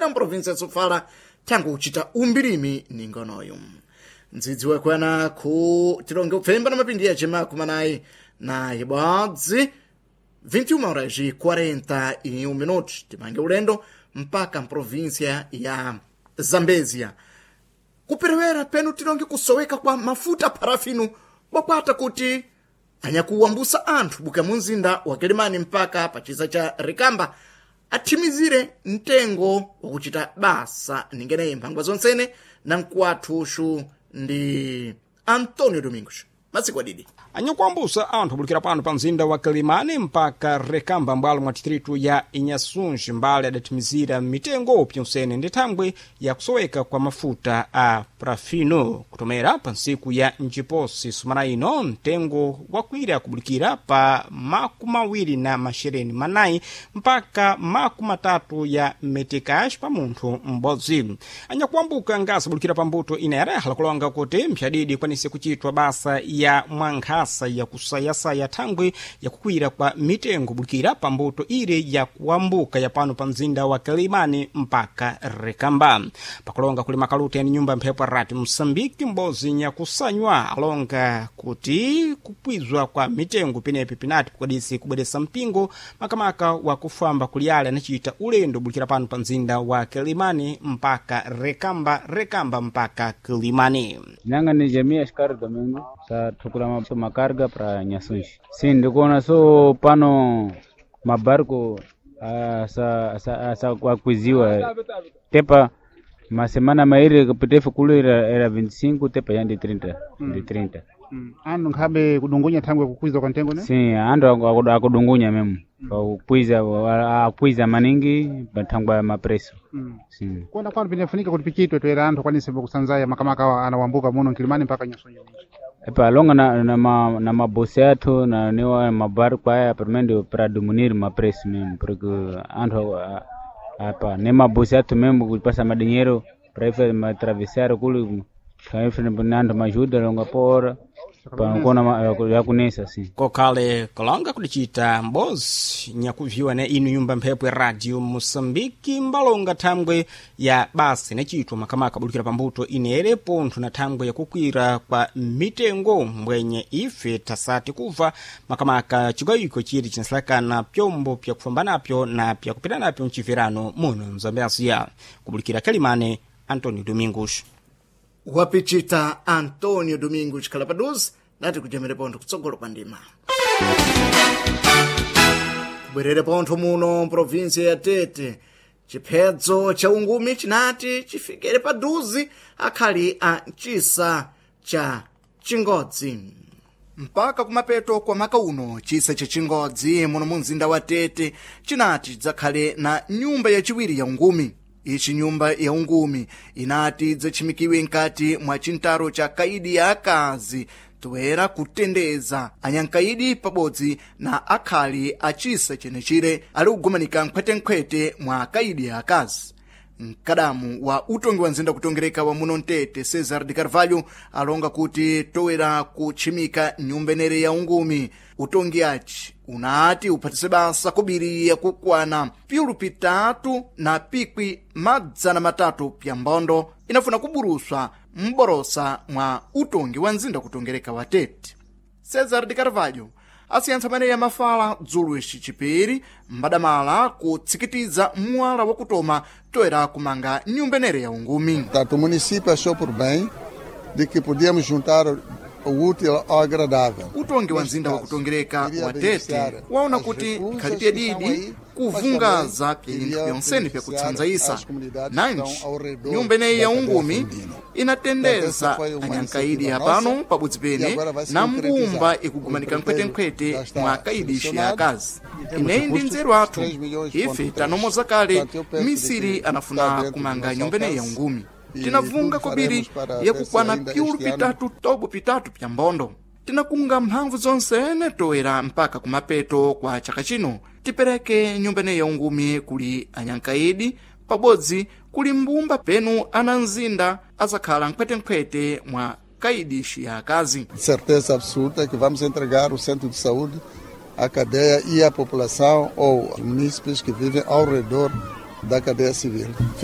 Kuperewera mprovinsi ya Sofala tangu kuchita umbilimi ningonoyu. Ndzidzi wakwana ku tilonge kupfemba na mapindi yace makumi anayi na ibodzi, 21 horas e 41 minutos. Timange ulendo mpaka mprovinsia ya Zambezia. Kuperewera penu tilonge kusoweka kwa mafuta parafinu bwakwata kuti anyakuwambusa anthu buka munzinda wa Kilimani mpaka pachiza cha Rikamba athimizire mtengo wakuchita basa ningeneyi mphangwa zonsene na mkuwathuxu ndi Antonio Domingos. Masiku adidi. Anyakuambusa anthu abulikira pano pa mzinda wa Kilimani mpaka Rekamba mbwalo mwa distritu ya Inhasunji mbali adathimizira mitengo pyonsene ndi thangwe ya kusoweka kwa mafuta a parafino kutomera pa ntsiku ya njiposi sumana ino mtengo wakwira kubulikira pa 24 mpaka 30 ya metikash pa munthu m'bodzi. Anyakuambuka ngasa bulikira pa mbuto inayerahala kulonga kuti mphyadidi ikwanise kuchitwa basa ya mwankhasa yakusayasaya thangwe yakukwira kwa mitengo bulikira pa mbuto ire yakuambuka ya pano pa mzinda wa Kilimani mpaka Rekamba. Pakulonga kuli makaluti yani nyumba mphepo rati Msambiki m'bodzi nyakusanywa alonga kuti kupwizwa kwa mitengo penepi pinati kukwadisi kubweresa mpingo makamaka wakufamba kuliyale anachita ulendo bulikira pano pa mzinda wa Kilimani mpaka Rekamba, Rekamba mpaka Kilimani. Nanga ni jamii askari Domingo sa tukula makarga pra Nyasunji. Si ndikuona so pano mabarko asa akwiziwa tepa masemana mairi kapitefu kulu era 25 tepa yandi 30 ndi 30. Andu nkhabe kudungunya thangwe kukwiza kwa ntengo ne? Si andu akudungunya memu akwiza akwiza maningi pathangwa mapreso. Si. Kuona kwanu pinafunika kuti pichitwe toera anthu akwanise kusanzaya makamaka awa anawambuka muno Nkilimani mpaka Nyasunji. Epa longa na mabosi athu na niwa mabarco aya pamene para diminuir mapreço mesmo porque anthu apa ne mabosi athu mesmo kupasa madinheiro para ife atravessar kuli ife anthu majuda longa pora panakona yakunesa si. Kokhale kolonga kudichita mbozi nyakuviwa na inu nyumba mphepo ya radio Moçambique mbalonga thangwe ya basa inachitwa makamaka bulikira pambuto inere pontho na thangwe yakukwira kwa mitengo mbwenye ife tasati kuva makamaka chigawiko chiri chinasalakana pyombo pyakufamba napyo na pyakupita napyo mchiverano muno mzambezia. Kubulikira Kalimane, Antonio Domingos. Wapichita Antonio Domingos Calapaduz nati kujemere pontho kutsogolo kwa ndima. Kubwerere pontho muno mprovinsi ya Tete chiphedzo cha ungumi chinati chifikire paduzi akhali a mchisa cha Chingodzi. Mpaka kumapeto kwa maka uno chisa cha Chingodzi muno mu mzinda wa Tete chinati chidzakhale na nyumba yachiwiri ya ungumi. Ichi nyumba ya ungumi inati idzachimikiwe nkati mwa chintaro cha kaidi ya akazi toera kutendeza anyankaidi pabodzi na akhali achisa chenechire ali kugumanika nkhwetenkhwete mwa kaidi ya akazi. Mkadamu wa utongi wa nzinda kutongereka wa muno Mtete Cesar de Carvalho alonga kuti toera kutchimika nyumba inere ya ungumi utongi aci unati uphatise basa kubiri yakukwana piulu pitatu na pikwi 300 pya mbondo inafuna kuburuswa m'borosa mwa utongi wa nzinda kutongereka wa Tete. Cesar de Carvalho asiyantsa maneyi amafala dzulo ici chipiri mbadamala kutsikitiza mwala wakutoma toera kumanga nyumba inere ya ungumi. Portanto, o município achou por bem de que podíamos juntar o útil ao agradável. Utongi wa mzinda wa kutongereka wa Tete waona kuti ikhalipye didi kuvungaza pinthu pyonsene pyakutsanzayisa nanji nyumba ineyi ya ungumi inatendeza anyankaidi apano pabodzi pene na mbumba ikugumanika nkhwetenkhwete mwa kaidishi ya akazi. Ineyi ndi nzeru athu ife tanomoza kale misiri anafuna kumanga nyumba ineyi ya ungumi. Tinavunga kobiri yakukwana piulu pitatu tobo pitatu pya mbondo. Tinakunga mphamvu zonsene toera mpaka kumapeto kwa chaka chino tipereke nyumba ineyi ya ungumi kuli anyankaidi pabodzi kuli mbumba penu anamzinda azakhala nkhwetenkhwete mwa kaidishi ya akazi. Certeza absoluta que vamos entregar o centro de saúde à cadeia e à população ou munícipes que vivem ao redor da cadeia civil.